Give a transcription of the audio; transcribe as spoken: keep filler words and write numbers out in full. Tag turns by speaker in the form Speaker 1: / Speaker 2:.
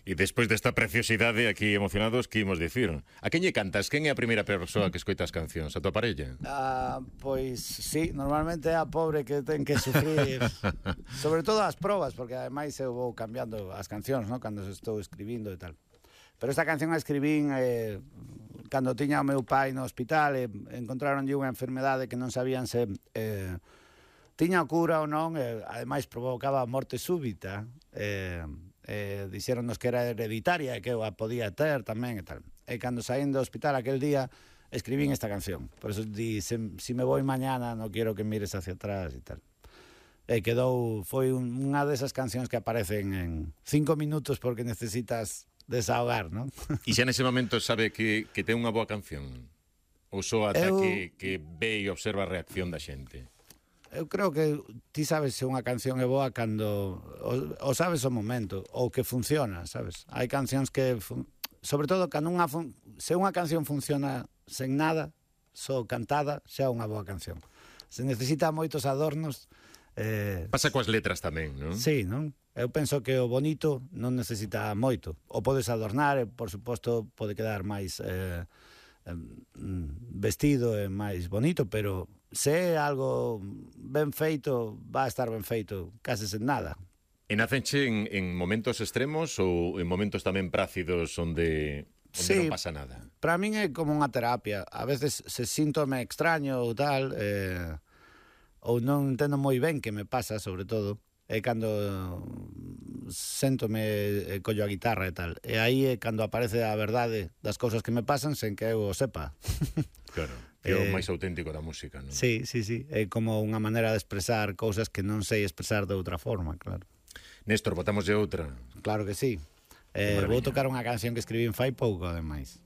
Speaker 1: E despois desta preciosidade aquí emocionados, que imos dicir? A quen lle cantas? Quen é a primeira persoa que escoita as cancións? A tua parella?
Speaker 2: Ah, pois sí, normalmente é a pobre que ten que sufrir sobre todo as probas, porque ademais eu vou cambiando as cancións, ¿no? Cando estou escribindo e tal. Pero esta canción a escribín eh, cando tiña o meu pai no hospital e encontraronlle unha enfermedade que non sabían se eh, tiña cura ou non, e ademais provocaba morte súbita. Eh, eh, dixéronnos que era hereditaria e que eu a podía ter tamén e tal. E cando saín do hospital aquel día escribín esta canción. Por eso di, se, si me voy mañana no quiero que mires hacia atrás e tal. E quedou, foi un, unha desas cancións que aparecen en cinco minutos porque necesitas desahogar, non?
Speaker 1: E xa nese momento sabe que, que ten unha boa canción? Ou só ata
Speaker 2: eu...
Speaker 1: que, que ve e observa a reacción da xente?
Speaker 2: Eu creo que ti sabes se unha canción é boa cando o, o sabes o momento ou que funciona, sabes? Hai cancións que fun... sobre todo cando unha fun... se unha canción funciona sen nada, só cantada, xa é unha boa canción. Se necesita moitos adornos, eh...
Speaker 1: pasa coas letras tamén, non?
Speaker 2: Sí, non? Eu penso que o bonito non necesita moito. O podes adornar e, por suposto, pode quedar máis eh, vestido e máis bonito, pero se é algo ben feito, va a estar ben feito case sen nada.
Speaker 1: E nacenche en, en momentos extremos ou en momentos tamén prácidos onde, onde
Speaker 2: sí,
Speaker 1: non pasa nada?
Speaker 2: Para min é como unha terapia. A veces se síntome extraño ou tal, eh, ou non entendo moi ben que me pasa, sobre todo, é cando séntome e collo a guitarra e tal. E aí é cando aparece a verdade das cousas que me pasan sen que eu o sepa.
Speaker 1: Claro, que é o máis auténtico da música, non?
Speaker 2: Sí, sí, sí. É como unha maneira de expresar cousas que non sei expresar de outra forma, claro.
Speaker 1: Néstor, botamos de outra.
Speaker 2: Claro que sí. Eh, vou tocar unha canción que escribín fai pouco, ademais.